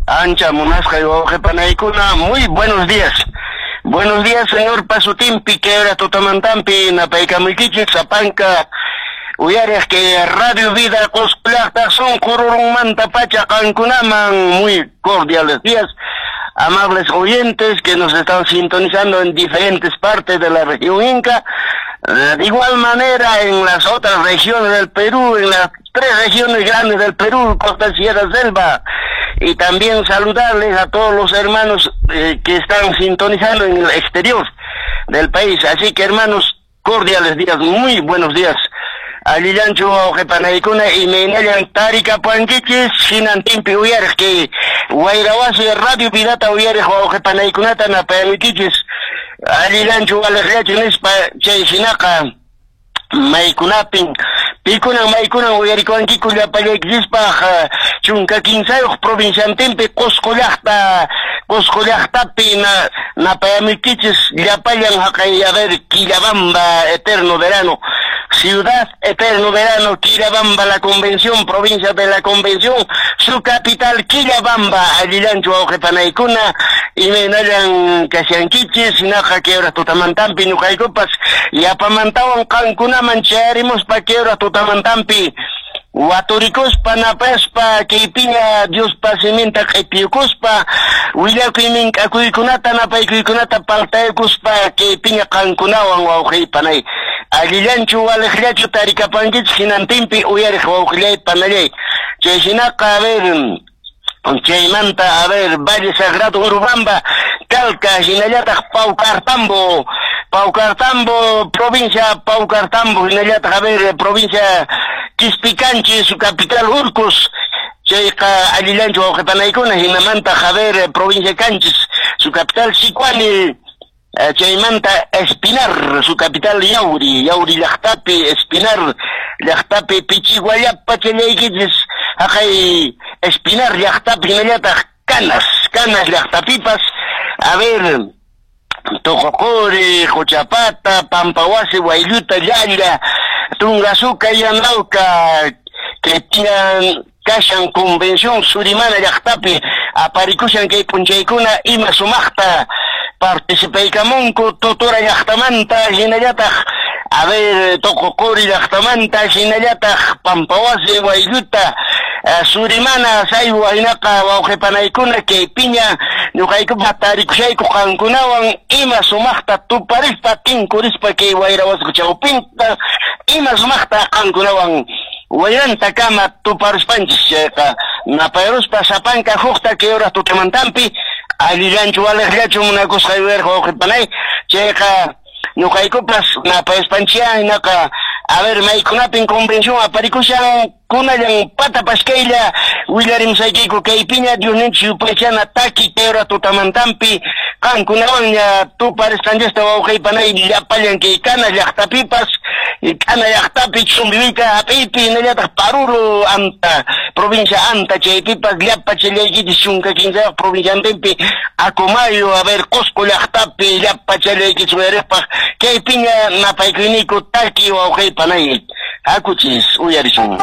Ancha munasqay wawqipanaykuna, muy buenos días. Buenos días, señor Pasutimpi, que era tutamantampi, napaykamuykichik, sapanka, uyariq que Radio Vida Qusqu llaqta sunqu rurunmanta pacha qankunaman, muy cordiales días, amables oyentes que nos están sintonizando en diferentes partes de la región Inca, de igual manera en las otras regiones del Perú, en las tres regiones grandes del Perú, Costa, Sierra, Selva, y también saludarles a todos los hermanos que están sintonizando en el exterior del país. Así que, hermanos, cordiales días, muy buenos días. Allillanchu wawqipanaykuna, imaynallan tarikapuankichis, hinantinpi uyariq kay Wayrawasi Radio Vidata uyariq wawqipanaykunata napayamuykichis, allillanchu waliqllachu nispa. Chay hinaqa maykunapin pikunan maykunan uyarikuwankiku llapallaykichispaq 13 provinciantinpi Qusqu llaqta, Qusqu llaqtapi napayamuykichis llapallan haqay, a ver, Quillabamba, eterno verano, ciudad eterno verano, Quillabamba, la Convención, provincia de la Convención, su capital Quillabamba. Allillanchu wawqipanaykuna, imaynallan kashankichis? Hinaqa kay hora tutamantampi ñuqaykupas yapamantawan qankunaman chayarimuspa kay hora tutamantampi waturikuspa napaspa kaypiña Diospa siminta q'ipiyukuspa willakuy mink'akuykunata napaykuykunata paltaykuspa kaypiña qankunawan wawqiypanay. Allillanchu waliqllachu tarikapankichis hinantinpi uyariq wawqillay panallay? Chay hinaqa, a ver, chaymanta, a ver, Valle Sagrado, Urubamba, Calca, hinallataq Paucartambo, Paucartambo, provincia Paucartambo, hinallataq, a ver, provincia Quispicanchi, su capital Urcos, chayqa allillanchu wawqipanaykuna? Hinamanta, a ver, provincia Canchis, su capital Sicuani, chaymanta Espinar, su capital Yauri, Yauri llaqtapi, Espinar llaqtapi pichiguallapa challaykichis haqay Espinar llaqtapi, hinallataq Canas, Canas llaqtapipas, a ver, Toqoquri, Qochapata, Pampawasi, Waylluta, Llalla, Tungasuca, Yanauca, que tiñan kashan convención Surimana llaqtapi aparikushan kay p'unchaykuna ima sumaqta participaykamunku Totora llaqtamanta, hinallataq, a ver, Toqoquri llaqtamanta, hinallataq Pampawasi, Waylluta, Surimana, Saywa. Hinaqa wawqipanaykuna kaypiña ñuqaykupa tarikushayku qankunawan ima sumaqta tuparispa tinkurispa kay wayrawasku chawpinta ima sumaqta qankunawan wayrantakama tuparuspanchis. Chayqa napayruspa sapanka hukta kay hora tutamantampi allillanchu waliqllachu munakusqay uyariq wawqipanay? Chayqa ñuqaykupas napayuspanchia. Hinaqa, a ver, maykunapin convención aparikushan kunallan pata paskaylla willarimusaykiku kaypiña Diosninchik yupaychana taki kay hora tutamantampi qankunawanña tuparisqanchista wawqiypanay llapallan kay Kana llaqtapipas, Kana llaqtapi Chumbivilca hap'iypi, hinallataq Paruro, Anta, provincia Anta, chaypipas llapa challaykichis 13 provinciantinpi Acomayo, a ver, Cusco llaqtapi llapa challaykichis uyariqpaq kaypiña napaykuyniku taki wawqiypanay, hakuchis uyarisun.